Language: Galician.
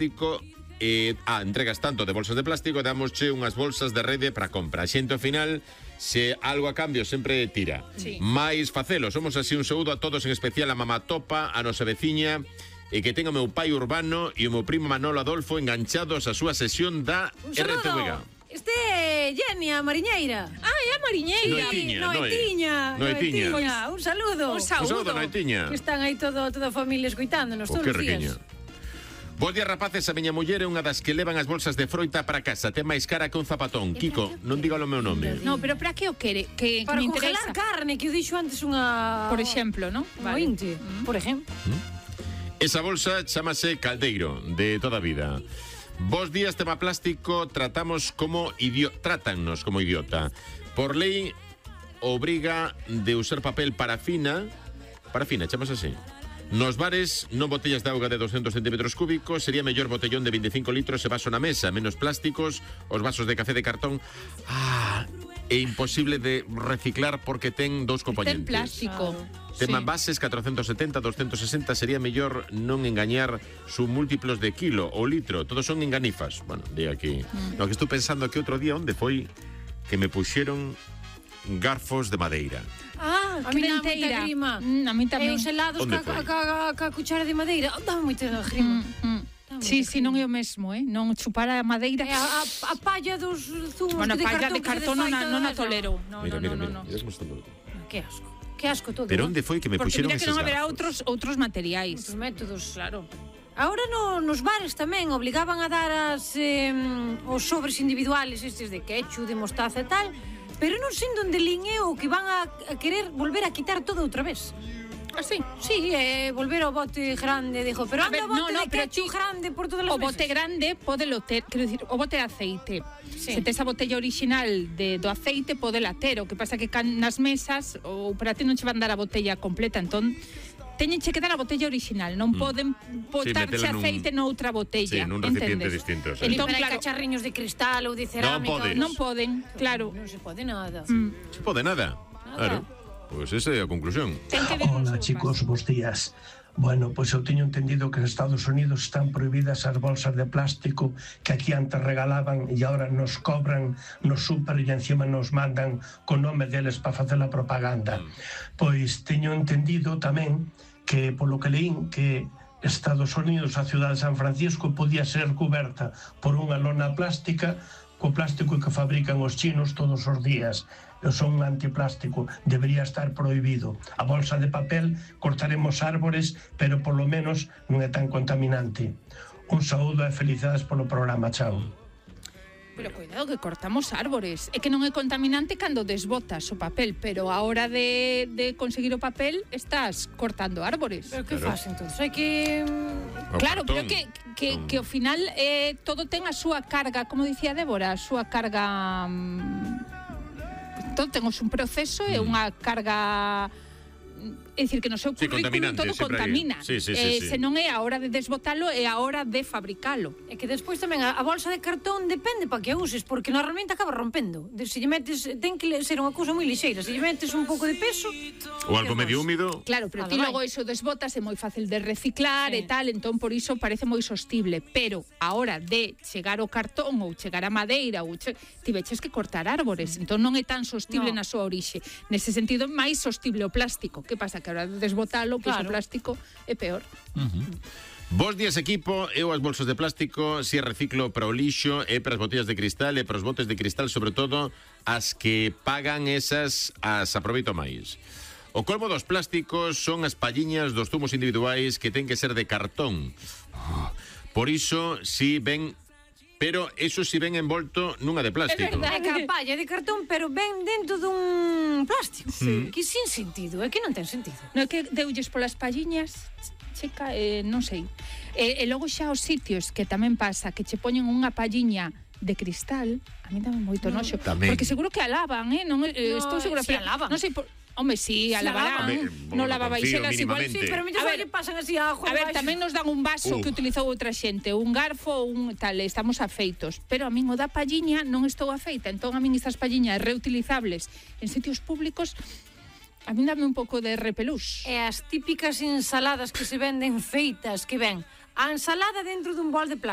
plástico entregas tanto de bolsas de plástico, damosche unhas bolsas de rede para compra. A xente ao final, se algo a cambio sempre tira. Sí. Mais facelo, somos así un saúdo a todos, en especial a mamá Topa, a nosa veciña, e que ten o meu pai Urbano e o meu primo Manolo Adolfo enganchados a súa sesión da RTVG. Este é Jenny, a mariñeira. É a mariñeira. Noetiña. Un saludo. Un saúdo, Noetiña. Que están aí toda a familia escoitándonos todos os días. Bos días, rapaces, a miña muller é unha das que levan as bolsas de froita para casa. Ten máis cara que un zapatón. Kiko, non diga o meu nome. No, pero para que o quere? Que para me congelar interesa. carne, que eu dixo antes unha... Por exemplo, ¿no? Vale. Por exemplo. Esa bolsa chamase caldeiro, de toda a vida. Bos días, tema plástico, trátannos como idiota. Por lei, obriga de usar papel parafina, chamase así. Nos bares, non botellas de auga de 200 centímetros cúbicos, sería mellor botellón de 25 litros e vaso na mesa, menos plásticos, os vasos de café de cartón. É imposible de reciclar porque ten dous componentes. Ten plástico. Tema envases 470, 260, sería mellor non engañar su múltiplos de kilo ou litro, todos son enganifas. Bueno, di aquí. Lo que estou pensando que outro día onde foi que me puxeron garfos de madeira. A mí dá moita grima. A mí tamén. E os helados ca cuchara de madeira, dá moita grima. Sí, non é o mesmo, non chupar a madeira. A palla dos zumos bueno, de palla cartón. de cartón non a tolero. Mira. Que asco todo. Pero onde foi que me puxeron eses garfos? Porque mira que non haberá outros materiais. Outros métodos. Claro. Ahora nos bares tamén obligaban a dar os sobres individuales estes de ketchup, de mostaza e tal, pero non sei onde lín é o que van a querer volver a quitar todo outra vez. Así? Sí, volver ao bote grande, dijo, pero anda o bote de ketchup grande por todas as mesas. O bote grande podelo ter, quero dicir, o bote de aceite. Se tes a botella original do aceite, podela ter, o que pasa que nas mesas ou para ti non che van dar a botella completa, entón teñenche que dar a botella original, non poden botarche aceite noutra botella. Sí, nun recipiente distinto. Entón, claro, cacharriños de cristal ou de cerámica. Non poden, claro. Non se pode nada. Se pode nada. Claro. Pois esa é a conclusión. Hola, chicos, bons días. Bueno, pois eu teño entendido que en Estados Unidos están prohibidas as bolsas de plástico que aquí antes regalaban e agora nos cobran no súper e encima nos mandan con nome deles para facer a propaganda. Pois teño entendido tamén que, polo que leín, que Estados Unidos, a ciudad de San Francisco, podía ser coberta por unha lona plástica co plástico que fabrican os chinos todos os días. Son un antiplástico, debería estar prohibido. A bolsa de papel cortaremos árbores, pero polo menos non é tan contaminante. Un saúdo e felicidades polo programa, chao. Pero cuidado que cortamos árbores. É que non é contaminante cando desbotas o papel, pero a hora de conseguir o papel estás cortando árbores. Pero que faz entonces? Hai que... Claro, pero que ao final todo ten a súa carga, como dicía Débora, a súa carga... Todo ten un proceso e unha carga... É dicir, que no seu currículum todo contamina. Se non é a hora de desbotalo, é a hora de fabricalo. É que despois tamén a bolsa de cartón depende para que a uses, porque normalmente acaba rompendo. Se lle metes, ten que ser unha cousa moi lixeira. Se lle metes un pouco de peso... Ou algo medio húmido. Claro, pero ti logo iso desbotas, é moi fácil de reciclar e tal, entón por iso parece moi sostible. Pero a hora de chegar o cartón ou chegar a madeira, ti veches que cortar árbores, entón non é tan sostible na súa orixe. Nese sentido, máis sostible o plástico. Que pasa? Que a hora de desbotalo, pois o plástico é peor. Bos días, equipo. Eu as bolsas de plástico si reciclo para o lixo e para as botellas de cristal e para os botes de cristal, sobre todo as que pagan esas as aproveito máis. O colmo dos plásticos son as palliñas dos zumos individuais que ten que ser de cartón. Por iso, si ven... Pero eso si ven envolto nunha de plástico. É verdade, que a palla de cartón, pero ven dentro dun plástico. Que sin sentido, é que non ten sentido. Non é que deulles polas palliñas, chica, non sei. E logo xa os sitios que tamén pasa, que che poñen unha palliña de cristal, a mí dame moito noxo. Porque seguro que alaban, non estou segura, pero alaban. Non sei por... Home, si, alabarán, non lavabaixelas igual. Sí, pero mellor lle pasan así a ajo. A ver, tamén nos dan un vaso que utilizou outra xente, un garfo, un tal, estamos afeitos. Pero a min o da palliña non estou afeita, entón a min estas palliñas reutilizables en sitios públicos a min dame un pouco de repelús. E as típicas ensaladas que se venden feitas, que ven a ensalada dentro dun bol de plástico.